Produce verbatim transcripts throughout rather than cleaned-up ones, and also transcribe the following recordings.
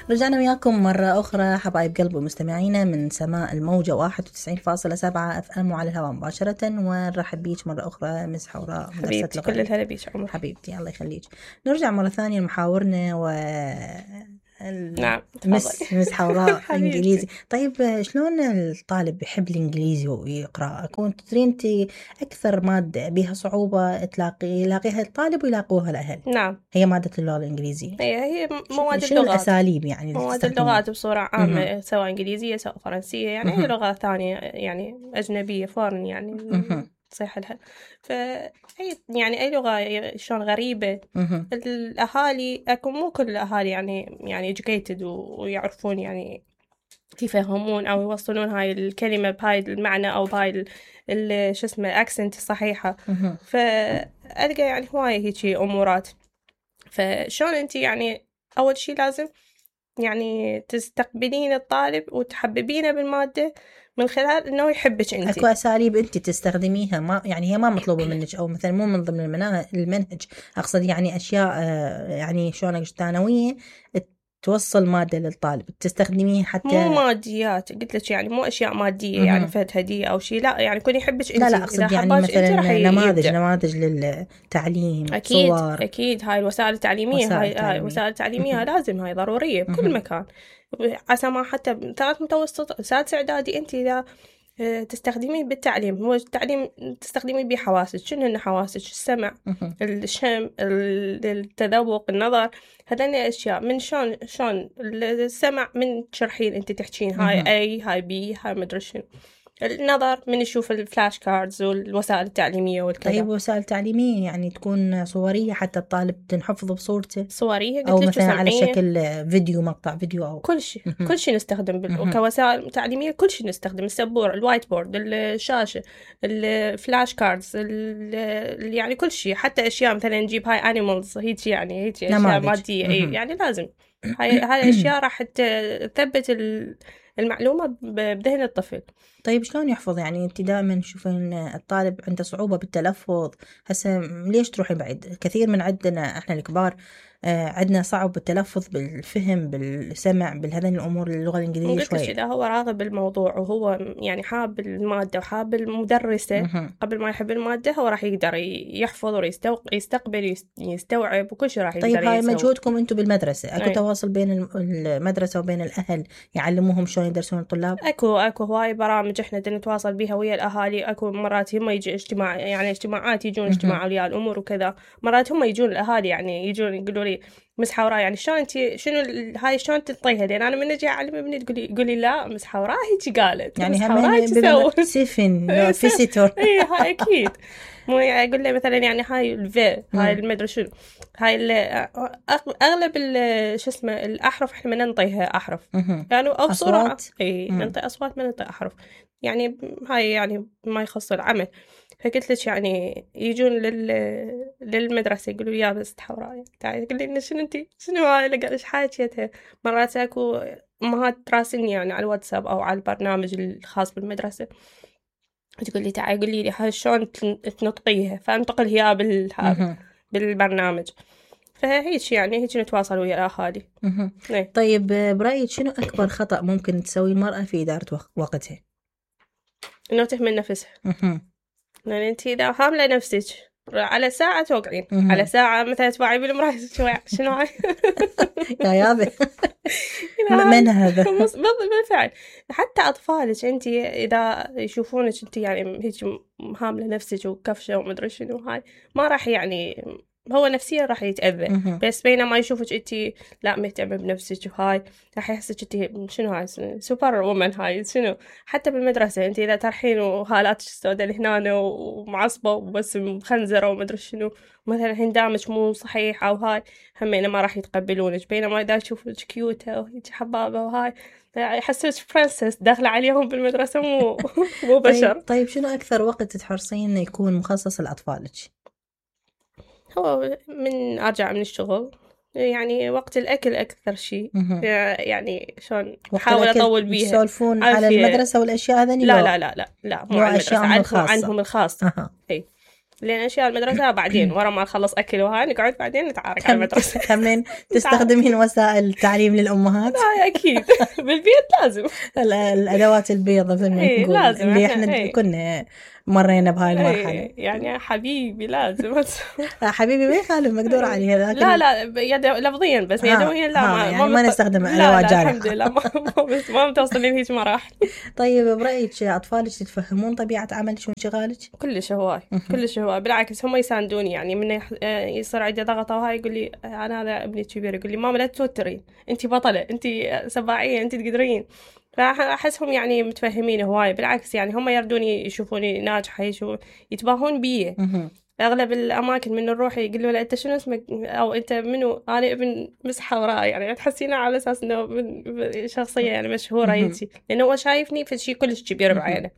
رجعنا وياكم مرة أخرى حبايب قلب ومستمعينا من سماء الموجة واحد وتسعين فاصلة سبعة اف ام وعلى الهواء مباشرة. ونرحب بيك مرة أخرى مس حوراء حبيبتي، كل الهلا بيك عمر. حبيبتي الله يخليك. نرجع مرة ثانية لمحاورنا و نعم مس مس حوراء انجليزي. طيب شلون الطالب يحب الانجليزي ويقرا؟ كنت تدرين انت اكثر ماده بها صعوبه تلاقي يلاقيها الطالب ويلاقوها الاهل؟ نعم، هي ماده اللغه الانجليزيه. هي هي مواد شنو اللغات، الاساليب يعني مواد اللغات بصوره عامه، سواء انجليزيه سواء فرنسيه، يعني اي لغه ثانيه يعني اجنبيه فورن يعني تصيح لها. فأي يعني أي لغة شلون غريبة. الأهالي أكو مو كل الأهالي يعني يعني educated ويعرفون يعني يفهمون أو يوصلون هاي الكلمة بهاي المعنى أو بهاي ال شو اسمه accent الصحيحة. فألقى يعني هواية هيجي أمورات. فشلون أنت يعني أول شي لازم يعني تستقبلين الطالب وتحببينه بالمادة من خلال انه يحبك انت. اكو اساليب انت تستخدميها، ما يعني هي ما مطلوبه منك، او مثلا مو من ضمن المنهج، اقصد يعني اشياء يعني شلون ثانويه توصل ماده للطالب تستخدميها حتى مو ماديات. قلت لك يعني مو اشياء ماديه يعني فات هديه او شيء، لا يعني كون يحبك انت. لا لا اقصد يعني مثلا نماذج نماذج للتعليم، اكيد صور. اكيد هاي الوسائل التعليميه، وسائل هاي التعليمية. وسائل التعليميه لازم، هاي ضروريه بكل مكان. عسى ما حتى ثالث متوسط سادس اعدادي انت اذا تستخدمين بالتعليم، هو التعليم تستخدمين به حواسك. شنو هن حواسك؟ السمع، الشم، التذوق، النظر. هذين أشياء من شلون شلون السمع من تشرحين أنت تحكين هاي أي هاي بي هاي مدري شنو. النظر من يشوف الفلاش كاردز والوسائل التعليمية والكذا. طيب وسائل تعليمية يعني تكون صورية حتى الطالب تنحفظ بصورته؟ صورية أو مثلا على شكل فيديو، مقطع فيديو أو كل شيء كل شيء نستخدم بال... كوسائل تعليمية كل شيء نستخدم. السبورة، الوايت بورد، الشاشة، الفلاش كاردز، ال... يعني كل شيء. حتى أشياء مثلا نجيب هاي أنيمالز هيك يعني هيك أشياء مادية أي يعني لازم. هاي هاي الأشياء راح تثبت المعلومة بذهن الطفل. طيب شلون يحفظ؟ يعني انت دائما تشوفين الطالب عنده صعوبة بالتلفظ. هسه ليش تروحي بعيد؟ كثير من عندنا احنا الكبار آه عندنا صعب بالتلفظ، بالفهم، بالسمع، بالهذين الامور. اللغة الانجليزية شوية اذا هو راغب بالموضوع وهو يعني حاب المادة وحاب المدرسة مه. قبل ما يحب المادة هو راح يقدر يحفظ ويستقبل يستوعب وكل شيء راح يقدر. طيب هاي مجهودكم انتم بالمدرسة، اكو أي. تواصل بين المدرسة وبين الاهل يعلموهم شلون يدرسون الطلاب؟ اكو اكو هواي برامج احنا نتواصل بها ويا الاهالي. اكو مرات هم يجي اجتماع يعني اجتماعات يجون اجتماع اولياء الامور وكذا. مرات هم يجون الاهالي يعني يجون يقولوا لي مس حوراء يعني شلون انت شنو هاي شلون تنطيها؟ لان انا من اجي اعلم ابني تقولي قولي لا مس حوراء هيك قالت يعني هم تسوي سيفن فيسيتور. اي هاي اكيد. مو اقول له مثلا يعني هاي الفي هاي المدري شنو هاي اغلب شو اسمه الاحرف احنا ما ننطيها احرف يعني او بسرعه اي ننطي اصوات ما ننطي احرف يعني. هاي يعني ما يخص العمل. فقلت لك يعني يجون لل للمدرسه يقولوا يا بس حوراء تعالي تقول لي شنو انت شنو هاي اللي قالش حاجتها. مرات اكو امهات تراسلني يعني على الواتساب او على البرنامج الخاص بالمدرسه تقول لي تعالي قولي لي هاي شلون تنطقيها، فانتقل هي بال بالبرنامج. فهيك يعني هيك نتواصل ويا الاهالي. طيب برايك شنو اكبر خطأ ممكن تسوي المرأة في ادارة وقتها؟ انه تهمل نفسها. لان انت اذا هامله نفسك على ساعة توقعين على ساعة مثلا تباعي بالمراية شنو هاي يا يابا من هذا بالفعل. حتى أطفالك أنت إذا يشوفونك أنت يعني هيك هاملة نفسك وكفشة ومدري شنو هاي ما راح يعني هو نفسيا راح يتأذى. بس بينما يشوفك أنت لا مهتمة بنفسك وهاي راح يحسك أنت شنو هاي سوبر وومن هاي شنو. حتى بالمدرسة أنت إذا ترحين وهالاتك السوداء اللي هنا ومعصبة وبس مخنزرة ومدري شنو مثلا هندامك مو صحيح أو هاي همينة ما راح يتقبلونك. بينما إذا يشوفك كيوتة وهيك حبابة وهاي يحسوك برنسس داخلة عليهم بالمدرسة مو مو بشر. طيب, طيب شنو أكثر وقت تحرصين إنه يكون مخصص لأطفالك؟ هو من أرجع من الشغل يعني وقت الأكل أكثر شيء يعني شلون أحاول أطول بيها. يسولفون على المدرسة والأشياء هذني؟ لا لا لا لا لا مو على المدرسة عنهم, عنهم الخاص. أه. إيه لان اشياء المدرسه بعدين ورا ما نخلص اكل وهاي نقعد بعدين نتعارك على المدرسه. تمين تستخدمين وسائل التعليم للامهات؟ لا اكيد بالبيت لازم الادوات البيضاء زي ما إيه نقول لازم اللي احنا إيه. كنا مرينا بهاي المرحله. إيه يعني حبيبي لازم حبيبي ما يخالف مقدور عليه، لكن لا لا يد... لفظيا بس يدويا لا ما, ما, يعني ما نستخدم ادوات جارحه الحمد لله ما بس ما متوصل لهيك مراحل. طيب برايك اطفالك تتفهمون طبيعه عملك وانشغالك؟ كلش هواي كلش هواي بالعكس هم يساندوني. يعني من يصير عندي ضغط وهاي يقول لي انا هذا ابني الكبير يقول لي ماما لا توترين، انت بطله، انت سباعيه، انت تقدرين. فأحسهم يعني متفهمين هواي بالعكس. يعني هم يردوني يشوفوني ناجحة يشوفون يتباهون بي. أغلب الأماكن من نروح يقولوا له أنت شنو اسمك أو أنت منو؟ أنا ابن مسحة وراي. يعني تحسينه على أساس إنه شخصية يعني مشهورة يتي، لأنه هو شايفني في شيء كلش كبير بعينه.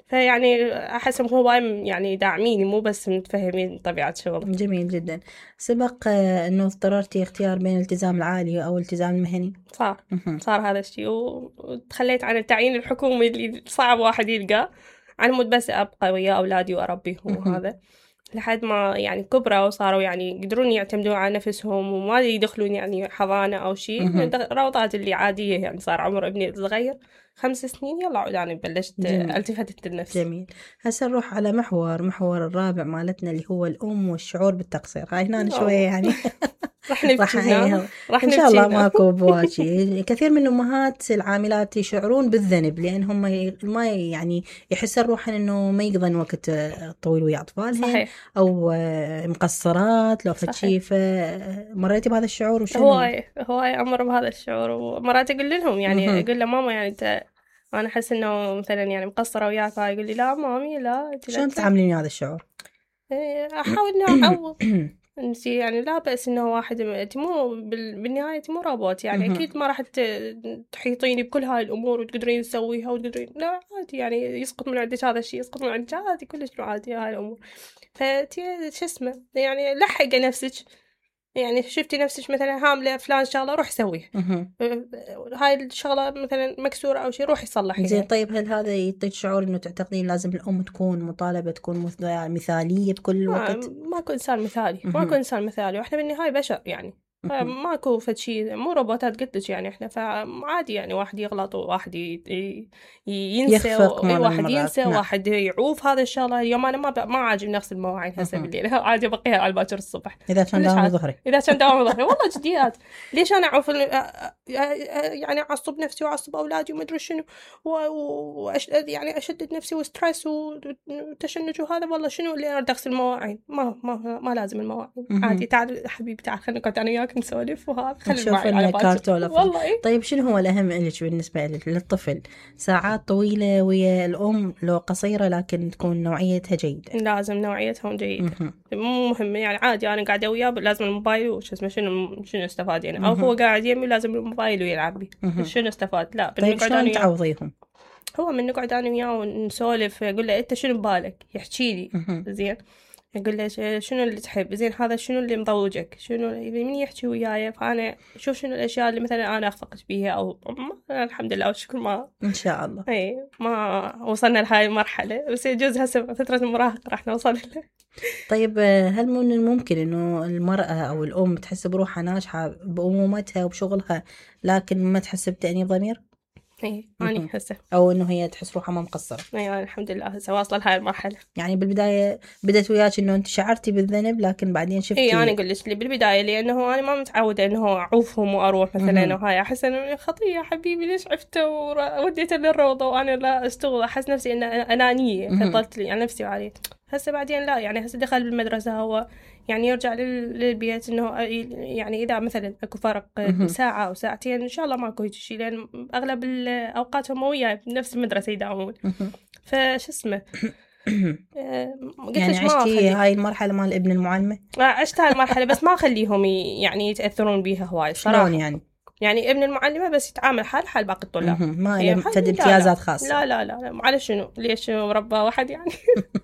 فيعني أحسهم هو يعني داعميني مو بس متفهمين طبيعة شغل. جميل جدا. سبق أنه اضطررتي اختيار بين الالتزام العالي أو الالتزام المهني؟ صار صار هذا الشيء وتخليت عن التعيين الحكومي اللي صعب واحد يلقى على مود بس أبقى ويا أولادي وأربيهم وهذا لحد ما يعني كبروا وصاروا يعني يقدرون يعتمدون على نفسهم وما يدخلون يعني حضانة أو شيء. روضات اللي عادية يعني صار عمر ابني الصغير خمس سنين يلا عود أنا بلشت التفتت النفس. جميل. هسه نروح على محور محور الرابع مالتنا اللي هو الأم والشعور بالتقصير. هاي هنا شوية يعني راح نبتينا راح إن شاء الله ماكو بواجي. كثير من الأمهات العاملات يشعرون بالذنب لأنهم ما يعني يحسن روحن إنه ما يقضن وقت طويل ويا أطفالهم أو مقصرات لو فشي. فمريتي بهذا الشعور وشنو؟ هواي هواي أمر بهذا الشعور. ومرات أقول لهم يعني أقول له ماما يعني أنت أنا أحس إنه مثلا يعني مقصرة وياك. يقول لي لا مامي لا. شلون تعاملين هذا الشعور؟ أحاول إنه أعوض انت يعني لا بأس انه واحد انت مو بالنهايه مو روبوت يعني اكيد ما راح تحيطيني بكل هاي الامور وتقدرين تسويها وتقدرين لا عادي يعني يسقط من عندك هذا الشيء يسقط من عندك عادي كلش عادي هاي الامور. فتي شو اسمه يعني لحقي نفسك يعني شفتي نفسك مثلا هامله فلان شغله روح سويه. هاي الشغله مثلا مكسوره او شيء روح يصلحيها. زين طيب هل هذا يعطيك شعور انه تعتقدين لازم الام تكون مطالبه تكون مثاليه بكل الوقت؟ ماكو انسان مثالي ماكو انسان مثالي واحنا بالنهايه بشر يعني ماكو فد شيء مو روبوتات قلت لك يعني احنا فعادي يعني واحد يغلط وواحد ينسى وواحد ينسى نعم. واحد يعوف هذا الشغله. اليوم انا ما ما عاجب نفس المواعين هسه بالليل عادي بقيها على باكر الصبح اذا كان داوم ظهري اذا كان داوم ظهري والله جديات. ليش انا اعوف يعني اعصب نفسي واعصب اولادي وما ادري شنو واش يعني اشدد نفسي وستريس وتشنج وهذا والله شنو اللي انا اغسل المواعين ما ما ما لازم المواعين عادي. تعال حبيبي تعال خلينا نقعد انا وياك نسولف وهذا خلي معي على كارتون والله. إيه؟ طيب شنو هو الأهم لك بالنسبة للطفل؟ ساعات طويلة ويا الأم لو قصيرة لكن تكون نوعيتها جيدة؟ لازم نوعيتهم جيدة مو مهم يعني عادي أنا قاعدة وياه لازم الموبايل وش اسمه شنو شنو استفاد يعني أو هو قاعد يمي لازم الموبايل ويلعب بي شنو استفاد. لا طيب شلون تعوضيهم؟ هو من نقعد أنا وياه ونسولف أقول له أنت شنو ببالك يحكي لي زين أقول له شنو اللي تحب زين هذا شنو اللي مضوجك شنو من يحكي وياي. فأنا شوف شنو الأشياء اللي مثلا أنا أخفقت بيها أو الحمد لله والشكر ما إن شاء الله إيه ما وصلنا لهاي المرحلة بس يجوز هسه فترة المراهقة راح نوصل له. طيب هل من الممكن إنه المرأة أو الأم تحس بروحها ناجحة بأمومتها وبشغلها لكن ما تحس بتأنيب ضمير؟ ايه أنا هسه او انه هي تحس روحها ما مقصره؟ ايوه الحمد لله هسه واصله لهاي المرحله. يعني بالبدايه بدت وياك انه انت شعرتي بالذنب لكن بعدين شفتي ايه انا قلت لي بالبدايه لانه انا ما متعوده انه اعوفهم واروح مثلا وهاي احس انه خطيه حبيبي ليش عفته ووديته للروضه وانا لا اشتغل احس نفسي ان انانيه فضلت لي على نفسي وعليه. هسه بعدين لا يعني هسه دخل بالمدرسه هو يعني يرجع للبيت انه يعني اذا مثلا اكو فرق ساعه او ساعتين ان شاء الله ماكو هيك شيء لان اغلب الاوقات هم وياي بنفس المدرسه يداومون فش اسمه يعني عشتي هاي المرحله مال ابن المعلمه؟ عشت هاي المرحله بس ما اخليهم يعني يتاثرون بيها هواي صراحه. شلون يعني؟ يعني ابن المعلمة بس يتعامل حال حال باقي الطلاب ما له فد امتيازات خاصة. لا لا لا على شنو ليش مربى واحد يعني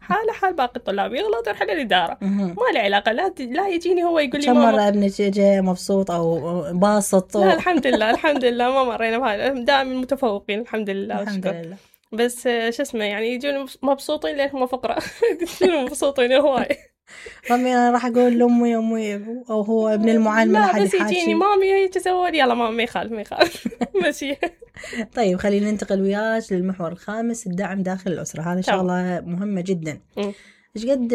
حاله حال باقي الطلاب يغلط يروح للإدارة ما له علاقة. لا لا يجيني هو يقول لي كم مرة ابنك جاء مبسوط أو باسط؟ لا الحمد لله الحمد لله ما مرينا بهذا دائما متفوقين الحمد لله الحمد لله. بس شو اسمه يعني يجون مبسوطين لأنهم فقراء يجون مبسوطين هواي. مامي أنا راح أقول لأمي أمي أو هو ابن المعلم لا حد بس يجيني مامي هيك سوالي يلا مامي ما يخالف ما يخالف ماشي. طيب خلينا ننتقل وياك للمحور الخامس، الدعم داخل الأسرة. هذا شغلة مهمة جدا. إيش قد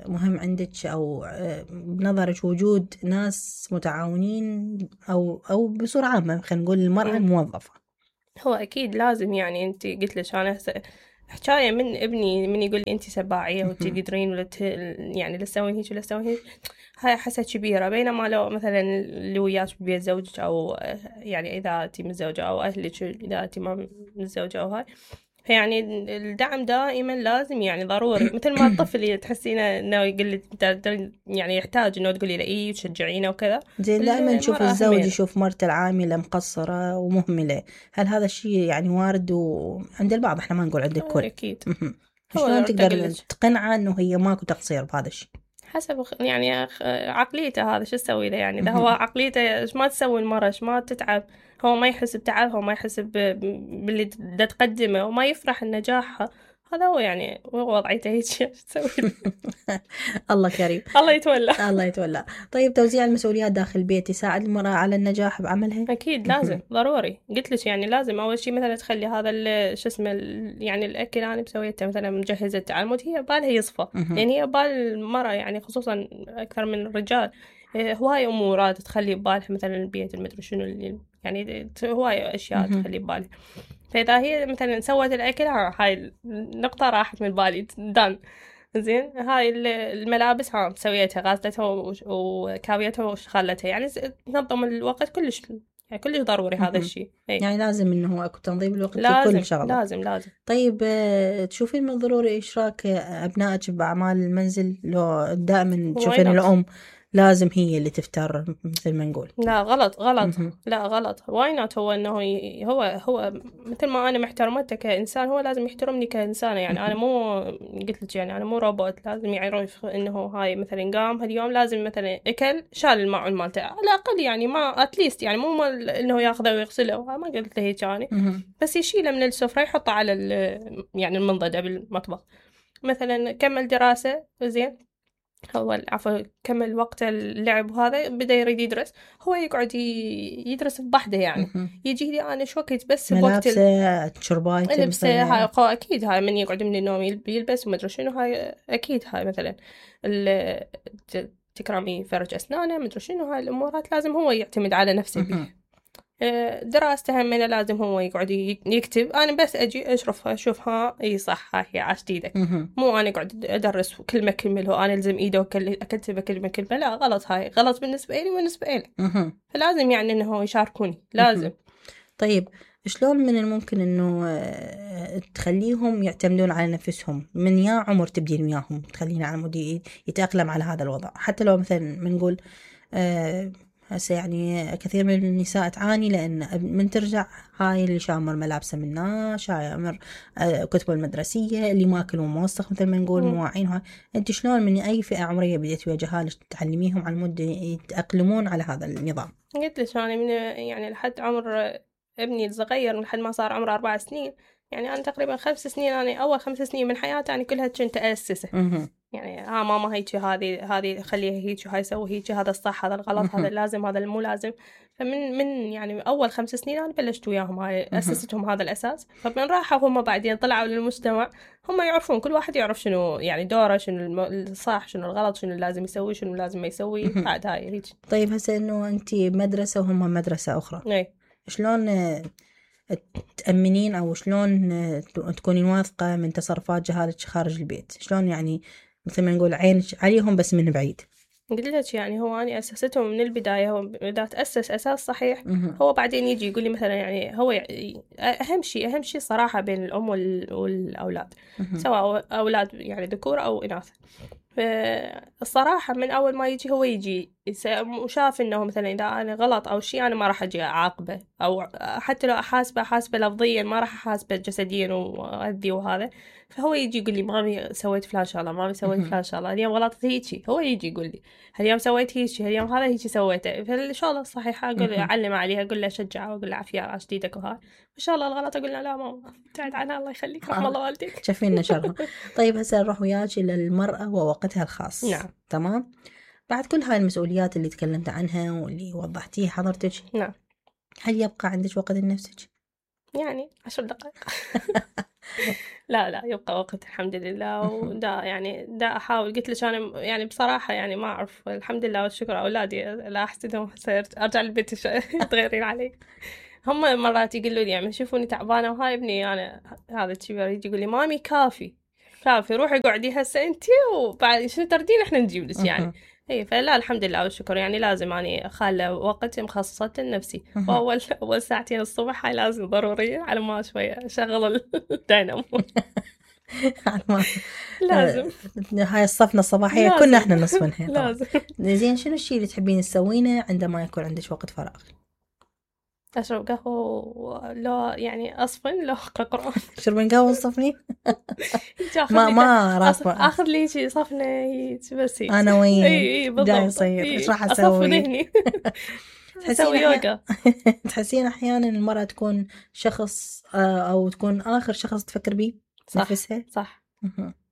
مهم عندك أو بنظرك وجود ناس متعاونين أو أو بصورة عامة خلينا نقول المرأة الموظفة؟ هو أكيد لازم، يعني أنت قلت لك أنا حكاية من ابني من يقول لي أنت سباعية وتقدرين ولا يعني لا تسوين هيك ولا تسوين هيك، هاي حسة كبيرة. بينما لو مثلا اللي وياك ببيت زوجك أو يعني إذا أنت متزوجة أو أهلك إذا أنت ما متزوجة أو هاي، يعني الدعم دائما لازم يعني ضروري. مثل ما الطفل تحسينه انه يقول لك يعني يحتاج انه تقولي له ايه وتشجعينه وكذا. زين دائما نشوف الزوج يشوف مرته العامله مقصره ومهمله، هل هذا الشيء يعني وارد وعند البعض؟ احنا ما نقول عند الكل اكيد. شلون تقدر تقنعه انه هي ماكو تقصير بهذا الشيء؟ حسب يعني عقليته هذا شو تسوي له يعني. اذا هو عقليته ما تسوي المرة ما تتعب، هو ما يحس بتعبها وما يحس باللي دا تقدمه وما يفرح النجاحها، هذا هو يعني هو وضعيته هيك تسوي. الله كريم. الله يتولى. الله يتولى. طيب توزيع المسؤوليات داخل البيت يساعد المرأة على النجاح بعملها؟ أكيد لازم ضروري. قلت لك يعني لازم أول شيء مثلا تخلي هذا شو اسمه يعني الأكل أنا مسويته مثلا مجهزة تعلمت هي بالها يصفى، يعني هي بال المرأة يعني خصوصا أكثر من الرجال هواي أمورات تخلي ببالها مثلا البيت المدري شنو اللي يعني هواي أشياء تخلي ببالها. فإذا هي مثلا سوت الأكل هاي النقطة راحت من بالي دان. زين هاي الملابس ها سويتها غسلتها وكاويتها وشغلتها، يعني تنظم الوقت كلش يعني كلش ضروري هذا الشيء. يعني لازم انه اكو تنظيم الوقت لازم في كل شغله. لازم لازم. طيب تشوفين من ضروري اشراك ابنائك باعمال المنزل؟ لو دائما تشوفين الام لازم هي اللي تفتر مثل ما نقول؟ لا غلط غلط. لا غلط. واي نوت. هو انه هو هو مثل ما انا محترمته كانسان هو لازم يحترمني كانسانه. يعني انا مو قلت لك يعني انا مو روبوت لازم يعرف انه هاي مثلا قام هاليوم لازم مثلا اكل شال الماعون مالته على الاقل يعني ما اتليست يعني مو انه ياخذه ويغسله ما قلت له هيك يعني بس يشيله من السفره يحطه على يعني المنضده بالمطبخ. مثلا كمل دراسه زين هو عفوا كمل وقت اللعب وهذا بدأ يريد يدرس هو يقعد يدرس بوحده يعني يجي لي أنا شو وقت بس بوقت ملابسه شربايته لبسه هاي أكيد هاي من يقعد من النوم يلبس وما أدري شنو هاي أكيد هاي مثلا تكرمي فرج أسنانه ما أدري شنو هاي الأمورات لازم هو يعتمد على نفسه بيه. دراسته همنا لازم هو يقعد يكتب أنا بس أجي أشرفها أشوفها إي صح هاي عاشت إيدك مو أنا قاعد أدرس كلمة كلمة وأنا ألزم إيده وأكتب كلمة كلمة لا غلط هاي غلط بالنسبة لي وبالنسبة له فلازم يعني إنه يشاركوني لازم. طيب شلون من الممكن إنه تخليهم يعتمدون على نفسهم من يا عمر تبدين وياهم تخلينا على مود يتأقلم على هذا الوضع حتى لو مثلا بنقول أه هسه يعني كثير من النساء تعاني لأن من ترجع هاي اللي شامر ملابسه منا شامر كتبه المدرسية اللي ماكل وموسخ مثل ما نقول مواعينها. أنت شلون من أي فئة عمرية بديت ويا جهالك تعلميهم على المدة يتأقلمون على هذا النظام؟ قلت لك أنا من يعني لحد عمر ابني الصغير لحد ما صار عمره أربع سنين يعني أنا تقريبا خمس سنين أنا أول خمس سنين من حياتي أنا كلها كنت أسسه يعني ها ماما هيك هذه هذه خليها هيك وهاي سوي هيك هذا الصح هذا الغلط هذا اللازم هذا المو لازم. فمن من يعني أول خمس سنين أنا بلشت وياهم هاي أسستهم هذا الأساس. فمن راحوا هم بعدين طلعوا للمجتمع هم يعرفون كل واحد يعرف شنو يعني دوره شنو الصح شنو الغلط شنو لازم يسوي شنو لازم ما يسوي بعد هاي هيك. طيب هسه إنه أنت مدرسة وهم مدرسة أخرى أي. شلون تأمنين أو شلون تكونين واثقة من تصرفات جهالك خارج البيت؟ شلون يعني مثل ما نقول عينك عليهم بس من بعيد؟ قلت لك يعني هو أنا أسستهم من البداية. هو إذا تأسس أساس صحيح هو بعدين يجي يقول لي مثلا يعني هو يعني أهم شيء أهم شيء صراحة بين الأم والأولاد سواء أولاد يعني ذكور أو إناث. فالصراحة من أول ما يجي هو يجي وشاف انه مثلا اذا انا غلط او شيء انا ما راح اجي اعاقبه، او حتى لو احاسبه احاسبه لفظيا ما راح احاسبه جسديا واذي وهذا. فهو يجي يقول لي مامي سويت فلان شغله، مامي سويت فلان شغله، اليوم غلطت هيجي، هو يجي يقول لي هاليوم سويت هيجي، هاليوم هذا هيجي سويته. فالشغله الصحيحه اقول له اعلم عليها، اقول له اشجعه واقول له عافيه على جديدك وهاي. ان شاء الله الغلط اقول له لا ماما ابتعد عنها الله يخليك رحم الله والديك. شايفين شرها. طيب هسه نروح وياك للمرأة ووقتها الخاص. نعم. تمام. بعد كل هاي المسؤوليات اللي تكلمت عنها واللي وضحتيها حضرتك، نعم، هل يبقى عندك وقت لنفسك؟ يعني عشر دقائق. لا لا يبقى وقت الحمد لله. ودا يعني دا أحاول، قلت لك أنا يعني بصراحة يعني ما أعرف، الحمد لله والشكر أولادي لا أحسدهم، أرجع البيت تغيرين علي. هم مرات يقولوا لي يعني يشوفوني تعبانة وهاي ابني أنا هذا الكبير يجي يقول لي مامي كافي كافي روحي قعدي هسه أنتي وبعد شنو تردين إحنا نجيب لك يعني. اي فلا الحمد لله والشكر يعني لازم اني اخلي وقت مخصصة لنفسي. واول اول ساعتين الصبح هاي لازم ضرورية على ما شوية اشغل الدينامو. لازم هاي الصفنة الصباحية كنا احنا نصفنها. لازم. زين شنو الشيء اللي تحبين تسوينه عندما يكون عندك وقت فراغ؟ أشرب قهوة، لو يعني أصفن، لو أقرأ قرآن. تشربين قهوة صفني؟ ما ما رافضة. آخر لي شيء صفنة هيك بس. أنا وين؟ إي إي بالضبط. يصير إيش راح أسوي؟ أصفي ذهني. تحسين يوغا. تحسين أحيانا المرأة تكون شخص أو تكون آخر شخص تفكر بيه نفسها. صح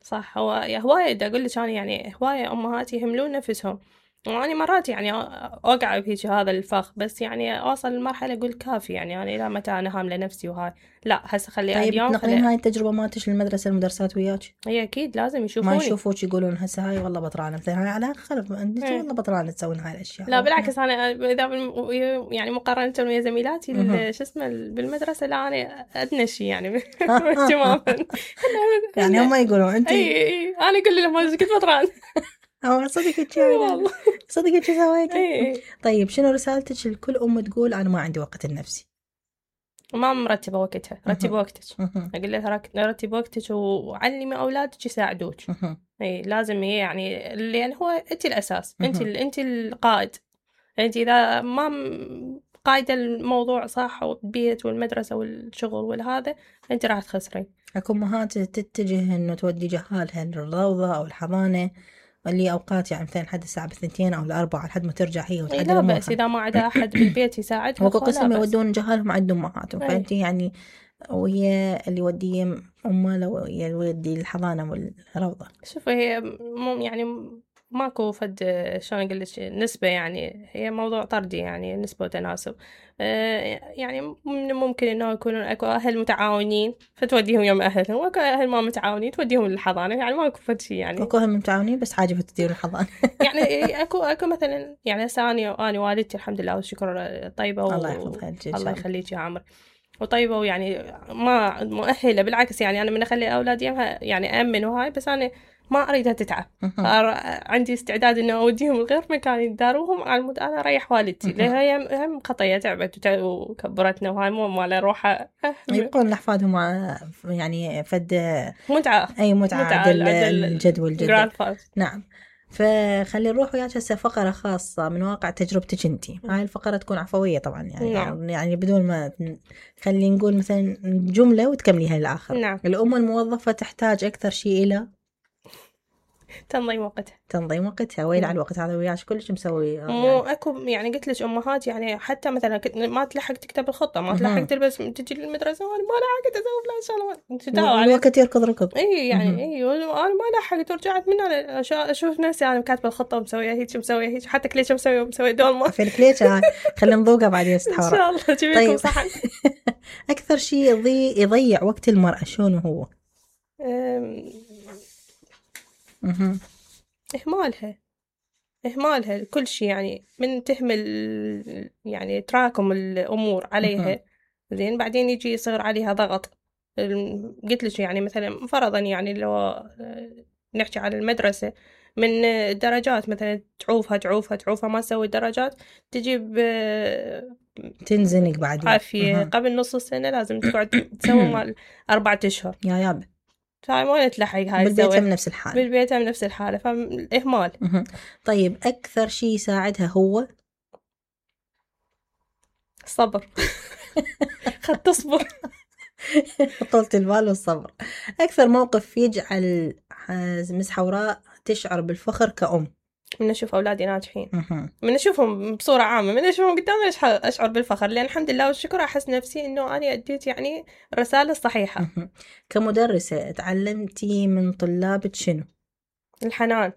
صح. هو هواية دا أقول لك أنا يعني هواية أمهات يهملون نفسهم، وأنا مرات يعني أوقع بهيك هذا الفخ، بس يعني أوصل لمرحلة أقول كافي يعني أنا إلى متى أنا هاملة نفسي وهاي لا هسه خلي طيب اليوم. طيب تنقلين هاي التجربة مالتش للمدرسة المدرسات وياك؟ هي أكيد لازم يشوفوني، ما يشوفوك يقولون هسه هاي والله بطرانة مثلا هاي على خلف أنت والله بطرانة تسوين هاي الأشياء. لا بالعكس أنا إذا يعني مقارنة ويا زميلاتي شو اسمه بالمدرسة لا أنا أدنى شيء يعني تماما. يعني هم يقولون أنت. أي أي أنا أقول لهم هذا كنت بطران. أو صدقك شو والله صدقك شو سويتي. طيب شنو رسالتك لكل أم تقول أنا ما عندي وقت لنفسي؟ ما مرتبة وقتها. رتب وقتك. أقول لها رتب وقتك وعلمي أولادك يساعدوك. أي لازم هي يعني لأن هو أنت الأساس، أنت أنت القائد. أنت إذا ما قايدة الموضوع صح والبيت والمدرسة والشغل والهذا أنت راح تخسرين. أكو أمهات تتجه إنه تودي جهالها للروضة أو الحضانة اللي أوقات يعني مثلا حد الساعة بثنتين أو الأربعة لحد ما ترجع هي وتعدل أمورها. لا بس إذا ما عدا أحد بالبيت يساعدها وكو قسم يودون جهالهم عند أمهاتهم. فأنت يعني وهي اللي يودي أمه لو يودي الحضانة والروضة. شوفي هي مو يعني ماكو فد شلون أقول لك نسبة، يعني هي موضوع طردي يعني نسبة وتناسب. يعني ممكن إنه يكونون أكو أهل متعاونين فتوديهم يوم أهلهم، وأكو أهل ما متعاونين توديهم للحضانة. يعني ماكو فد شيء يعني. أكو أهل متعاونين بس حاجة فتديهم الحضانة. يعني أكو أكو مثلا يعني هسه أنا أنا والدتي الحمد لله والشكر طيبة و... الله يحفظها الله يخليك يا عمر وطيبة، ويعني ما مؤهلة بالعكس يعني أنا من أخلي أولادي يعني أمن وهاي، بس أنا ما أريدها تتعب. عندي استعداد إنه أوديهم لغير مكان يداروهم على المود أنا أريح والدتي لها هي هم خطية تعبت وكبرتنا وهاي مو مال روحها. يبقون أحفادهم يعني فد متعة أي متعة, متعة الجد والجد. نعم. فخلي نروح وياك هسه فقرة خاصة من واقع تجربتك انتي. هاي الفقرة تكون عفوية طبعا يعني نعم. يعني بدون ما خلي نقول مثلا جملة وتكمليها للآخر. نعم. الأم الموظفة تحتاج أكثر شيء إلى تنظيم وقتها. تنظيم وقتها. وين على الوقت هذا وياش كلش مسوي مو يعني. اكو يعني قلت لك امهات يعني حتى مثلا ما تلحق تكتب الخطه، ما تلحق تلبس تجي للمدرسه وانا ما لحقت اسوي فلان شغله الوقت يركض ركض. اي يعني اي انا ما لحقت ورجعت من انا اشوف نفسي انا كاتبه الخطه ومسويه هيك مسويه هيك حتى كليشه مسويه مسويه دولمه في الكليشه. خلينا نذوقها بعدين استحوره ان شاء الله اجيب لكم طيب. صحن. اكثر شيء يضيع يضيع وقت المراه شلون هو؟ أم... إهمالها إهمالها كل شيء يعني من تهمل يعني تراكم الأمور عليها زين بعدين يجي يصير عليها ضغط. قلت لك يعني مثلا فرضا يعني لو نحكي على المدرسة من درجات مثلا تعوفها تعوفها تعوفها ما تسوي درجات تجيب تنزنق بعدين عافية قبل نص السنة لازم تقعد تسوي مال أربعة أشهر يا ياب. هاي ما نتلحق هاي بالبيت من نفس الحالة بالبيت من نفس الحالة فالإهمال. طيب أكثر شيء يساعدها هو الصبر. خد تصبر. طولة البال والصبر. أكثر موقف يجعل مس حوراء تشعر بالفخر كأم؟ من أشوف أولادي ناجحين، من أشوفهم بصورة عامة، من أشوفهم قدامي أشعر بالفخر، لأن الحمد لله والشكر أحس نفسي إنه أنا أديت يعني الرسالة الصحيحة. كمدرسة تعلمتي من طلابك شنو؟ الحنان.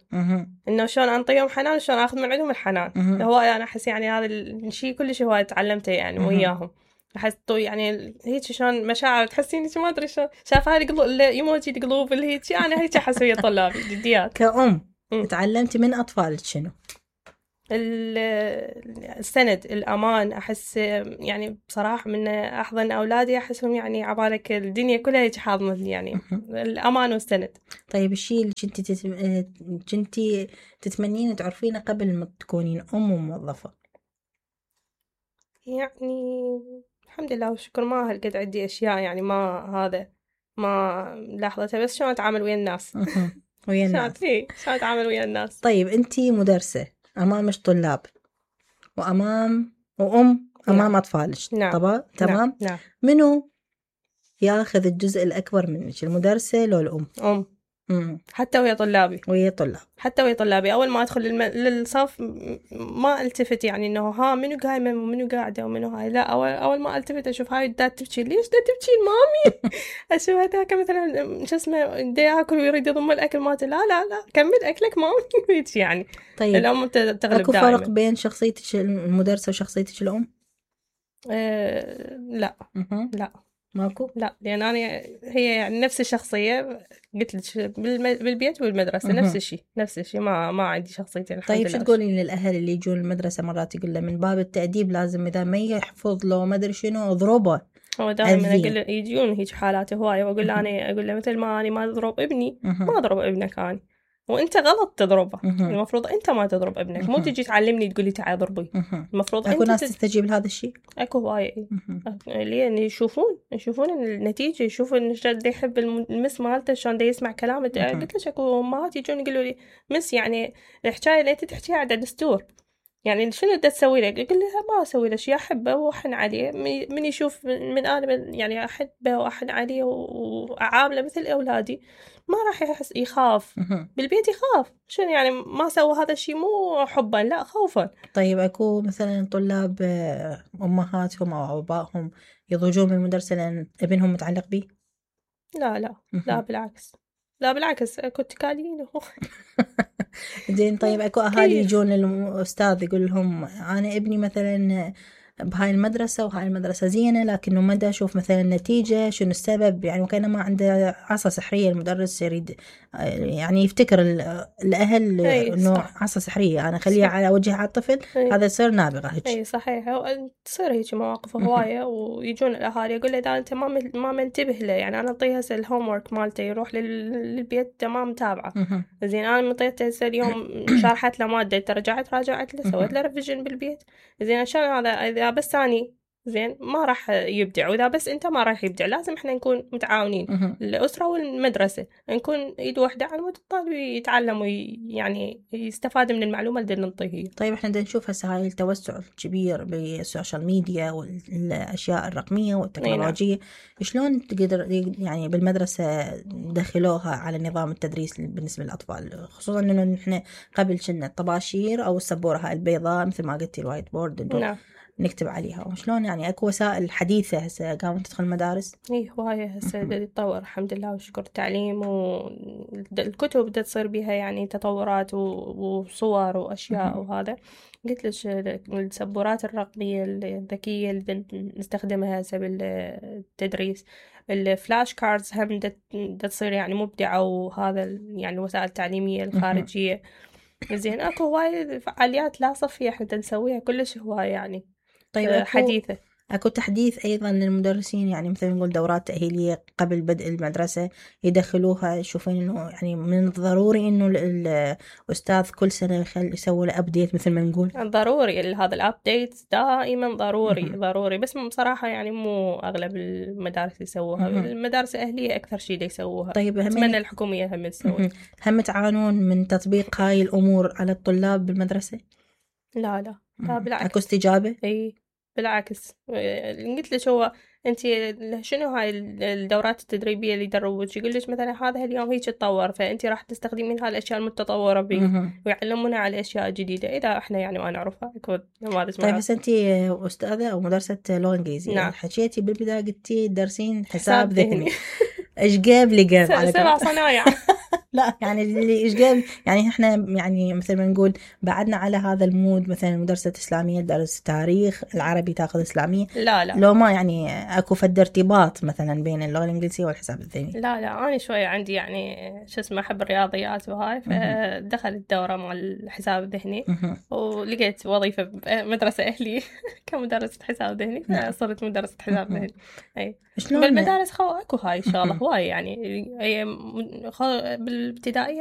إنه شلون أنطيهم حنان وشلون أخذ من عندهم الحنان. هو أنا أحس يعني هذا الشيء كل شيء هو تعلمته يعني وياهم. أحس يعني هيك شلون مشاعر تحسين ما أدري شلون شايفة هاي القلوب الإيموجي القلوب اللي هيك أنا هيك أحس ويا طلابي جديات. كأم م. تعلمتي من أطفالك شنو؟ السند، الأمان. أحس يعني بصراحة من أحضن أولادي أحسهم يعني عبالك الدنيا كلها هيك حاضنتني يعني الأمان والسند. طيب الشيء اللي كنتي تتم... كنتي تتمنين تعرفينه قبل ما تكونين أم وموظفة؟ يعني الحمد لله والشكر ما هالقد عندي أشياء يعني ما هذا ما لاحظتها، بس شلون أتعامل ويا الناس. ويا الناس. شلون أتعامل ويا الناس. طيب أنتي مدرسة أمامش طلاب وأمام وأم أمام نعم. أطفالك. نعم. طبعا تمام. نعم. منو ياخذ الجزء الأكبر منك، المدرسة لو الأم؟ أم. مم. حتى ويا طلابي. ويا طلاب. حتى ويا طلابي أول ما أدخل الم... للصف ما التفت يعني إنه ها منو قايمة ومنو قاعدة ومنو هاي، لا أول أول ما التفت أشوف هاي دا تبكي، ليش دا تبكي مامي؟ أشوف هذاك مثلا شو اسمه دا ياكل ويريد يضم الأكل مالته، لا لا لا كمل أكلك مامي هيك يعني. طيب الأم تغلب دائما. أكو فرق بين شخصيتك المدرسة وشخصيتك الأم؟ أه لا م- لا ماكو؟ لا لأن أنا هي يعني نفس الشخصية قلت لك بالبيت والمدرسة نفس الشيء نفس الشيء ما ما عندي شخصيتين الحمد طيب لله. شو تقولين للأهل اللي يجون المدرسة مرات يقول له من باب التأديب لازم إذا ما يحفظ له ما أدري شنو أضربه؟ هو دائما أقول له يجون هيك حالات هواية وأقول له أنا أقول له مثل ما أنا ما أضرب ابني ما أضرب ابنك أنا، وأنت غلط تضربه. المفروض أنت ما تضرب ابنك، مو تجي تعلمني تقولي تعال ضربي. المفروض أكو أنت ناس تت... تستجيب لهذا الشيء. أكو هواية لين يشوفون يشوفون النتيجة، يشوفون شلون دا يحب المس مالته شلون دا يسمع كلامه. قلت لك أكو أمهات يجون يقولوا لي مس يعني الحكاية اللي أنت تحكيها على دستور يعني شنو دا تسوي لك؟ أقول لها ما أسوي له شيء، أحبه وأحن عليه من يشوف من أنا يعني أحبه وأحن عليه وأعامله مثل أولادي ما راح يحس يخاف. بالبيت يخاف شنو يعني ما سوى هذا الشيء مو حبا لا خوفا. طيب أكو مثلا طلاب أمهاتهم أو أبائهم يضجون من المدرسة لأن ابنهم متعلق به؟ لا لا لا بالعكس لا بالعكس أكو تكالين. زين طيب أكو أهالي يجون للأستاذ يقول لهم أنا ابني مثلا بهاي المدرسة وهاي المدرسة زينة لكنه ما دا أشوف مثلا النتيجة شنو السبب، يعني وكأنه ما عنده عصا سحرية المدرس يريد يعني يفتكر الأهل إنه عصا سحرية أنا خليها على وجه على الطفل أي. هذا يصير نابغة هيك. أي صحيح تصير هيك مواقف هواية ويجون الأهالي يقول له إذا أنت ما ما منتبه له يعني أنا أعطيه هسه الهوم ورك مالته يروح للبيت تمام متابعة. زين أنا مطيته هسه اليوم شرحت له مادة رجعت راجعت له سويت له ريفيجن بالبيت. زين عشان هذا إذا بس أني زين ما راح يبدع، وإذا بس أنت ما راح يبدع. لازم إحنا نكون متعاونين الأسرة والمدرسة نكون إيد واحدة على مود الطالب يتعلم ويعني يستفاد من المعلومة اللي نعطيه. طيب إحنا بدنا نشوف هسه هاي التوسع الكبير بالسوشيال ميديا والأشياء الرقمية والتكنولوجية شلون تقدر يعني بالمدرسة دخلوها على نظام التدريس بالنسبة للأطفال، خصوصا إنه نحن قبل كنا الطباشير أو السبورة هاي البيضاء مثل ما قلتي الوايت بورد نعم. نكتب عليها، وشلون يعني أكو وسائل حديثة هسه قامت تدخل المدارس. إيه هواية هسه بدأ يتطور الحمد لله وشكر التعليم والكتب بدأ تصير بها يعني تطورات وصور وأشياء وهذا. قلت لك السبورات الرقمية الذكية اللي نستخدمها هسه بالتدريس، الفلاش كاردز هم بدأ تصير يعني مبدعة، وهذا يعني الوسائل التعليمية الخارجية. زين أكو هواية فعاليات لا صفية احنا نسويها كلش هواية يعني. طيب أكو حديثة. اكو تحديث ايضا للمدرسين، يعني مثلا نقول دورات تأهيلية قبل بدء المدرسة يدخلوها، يشوفون انه يعني من الضروري انه الاستاذ كل سنة يخل يسوي له ابديت مثل ما نقول. ضروري هذا الابديت دائما ضروري م-م. ضروري، بس بصراحة يعني مو اغلب المدارس يسووها. م-م. المدارس الاهلية اكثر شيء دي يسووها. طيب اتمنى الحكومية هم تسوي. هم تعانون من تطبيق هاي الامور على الطلاب بالمدرسة؟ لا لا لا بالعكس. اكو استجابة؟ اي بالعكس. قلت لك هو انت شنو هاي الدورات التدريبيه اللي يدربوك، يقول لك مثلا هذا اليوم هيك تطور، فانت راح تستخدمين هاي الاشياء المتطوره بيه ويعلمونا على الاشياء الجديده اذا احنا يعني ما نعرفها. طيب بس انت استاذه او مدرسه لغه انجليزيه، نعم. حكيتي بالبدايه قلتي درسين حساب, حساب ذهني ايش جاب لي جاب على سبع صنايع لا يعني اللي ايش جاب، يعني احنا يعني مثل ما نقول بعدنا على هذا المود، مثلا مدرسة اسلامية درس تاريخ، العربي تاخذ اسلامية، لا لا لو ما يعني اكو فد ارتباط مثلا بين اللغة الانجليزية والحساب الذهني؟ لا لا انا شوية عندي يعني شو اسمه احب الرياضيات وهاي، فدخلت الدورة مع الحساب الذهني ولقيت وظيفة بمدرسة اهلي كمدرسة حساب ذهني، فصرت مدرسة حساب ذهني. اي بالمدارس خو اكو هاي الشغله هواي، يعني هي بالابتدائيه